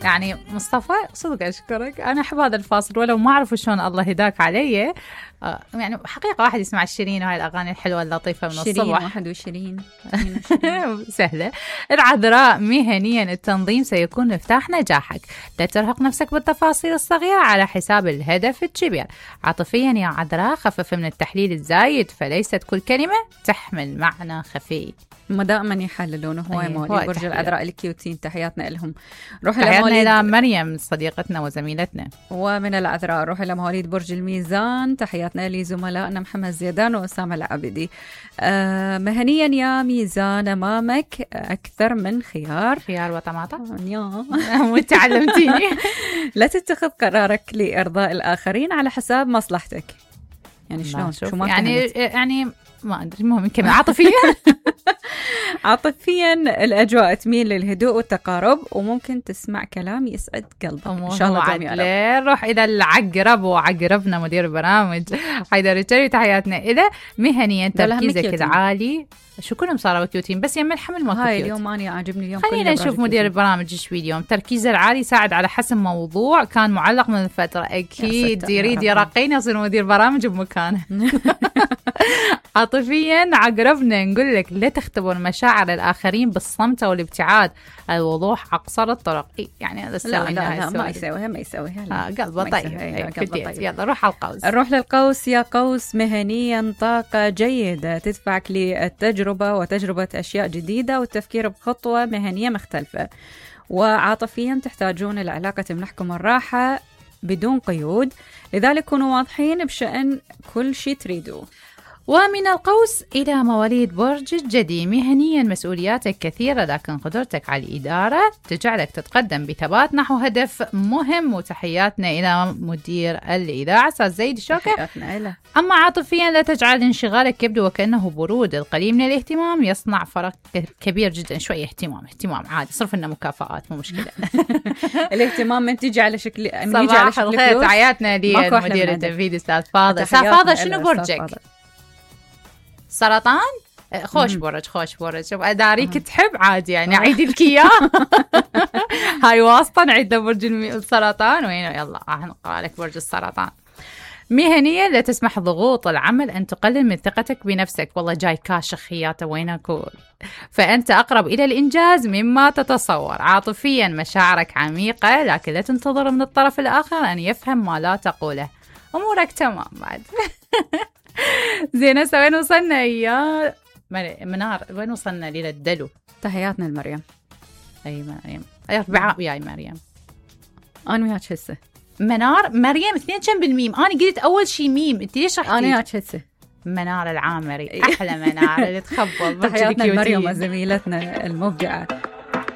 يعني مصطفى صدق أشكرك، أنا أحب هذا الفاصل ولو ما أعرف شلون الله هداك علي. يعني حقيقة واحد يسمع شيرين وهاي الأغاني الحلوة اللطيفة من الصبح. شيرين 21 سهلة. العذراء مهنيا التنظيم سيكون مفتاح نجاحك، لا ترهق نفسك بالتفاصيل الصغيرة على حساب الهدف الكبير. عاطفيا يا عذراء خفف من التحليل الزايد، فليست كل كلمة تحمل معنى خفي. ما دائما يحللون هواي مواليد برج العذراء الكيوتين، تحياتنا لهم. روح إلى مريم صديقتنا وزميلتنا. ومن العذراء روح إلى مواليد برج الميزان، تحياتنا لزملائنا محمد زيدان وأسامة العابدي. مهنيا يا ميزان أمامك أكثر من خيار وطماطم. وانت علمتيني. لا تتخذ قرارك لإرضاء الآخرين على حساب مصلحتك. يعني شلون؟ يعني ما أدري، المهم يمكن عاطفيا. عاطفيا الأجواء تميل للهدوء والتقارب، وممكن تسمع كلام يسعد قلبك إن شاء الله جميعا. نروح إلى العقرب وعقربنا مدير البرامج حيدر الجري، تحياتنا إلى مهنيا تركيزك العالي. شو كلهم صاروا كيوتين بس يم الحمل ما هاي اليوم أنا عاجبني اليوم. خلينا نشوف مدير البرامج ايش اليوم. تركيزه العالي ساعد على حسم موضوع كان معلق من فترة، أكيد يريد يرقينا يصير مدير برامج بمكانه. عاطفيا عقربنا نقول لك لا تختبر مشاعر الآخرين بالصمت والابتعاد، الوضوح أقصر الطرق. يعني هذا لا ما يسويها قلبه طيب. يلا روح على القوس. نروح للقوس يا قوس، مهنيا طاقة جيدة تدفعك للتجربة وتجربة أشياء جديدة والتفكير بخطوة مهنية مختلفة. وعاطفيا تحتاجون العلاقة تمنحكم الراحة بدون قيود، لذلك كونوا واضحين بشأن كل شيء تريدوه. ومن القوس إلى مواليد برج الجدي، مهنيا مسؤولياتك كثيرة لكن قدرتك على الإدارة تجعلك تتقدم بثبات نحو هدف مهم. وتحياتنا إلى مدير الإذاعة أستاذ زيد شوكة. أما عاطفيا لا تجعل انشغالك يبدو وكأنه برود، القليل من الاهتمام يصنع فرق كبير جدا. شوية اهتمام عادي، صرف لنا مكافآت مو مشكلة. الاهتمام من تيجي على شكل صباح الخير، تحياتنا لمدير التنفيذي أستاذ فاضل. فاضل شنو برجك؟ سرطان؟ خوش برج. شوف أداريك تحب عادي يعني أعيد لك إياه. هاي واسطة نعيد لبرج السرطان. وين يلا راح نقرأ لك برج السرطان. مهنيا لا تسمح ضغوط العمل أن تقلل من ثقتك بنفسك. والله جاي كاشخ خياته وينك، فأنت أقرب إلى الإنجاز مما تتصور. عاطفيا مشاعرك عميقة لكن لا تنتظر من الطرف الآخر أن يفهم ما لا تقوله. أمورك تمام بعد. زين وين وصلنا يا منار؟ وين وصلنا للدلو؟ تحياتنا لمريم. أي مريم أربعة وياي مريم. أنا وياك هسه منار مريم اثنين كم بالميم؟ أنا قلت أول شي ميم، أنت ليش رحتي؟ أنا وياك هسه منار العامري. أحلى منار اللي تخبل. تحياتنا لمريم وزميلتنا المبدعة.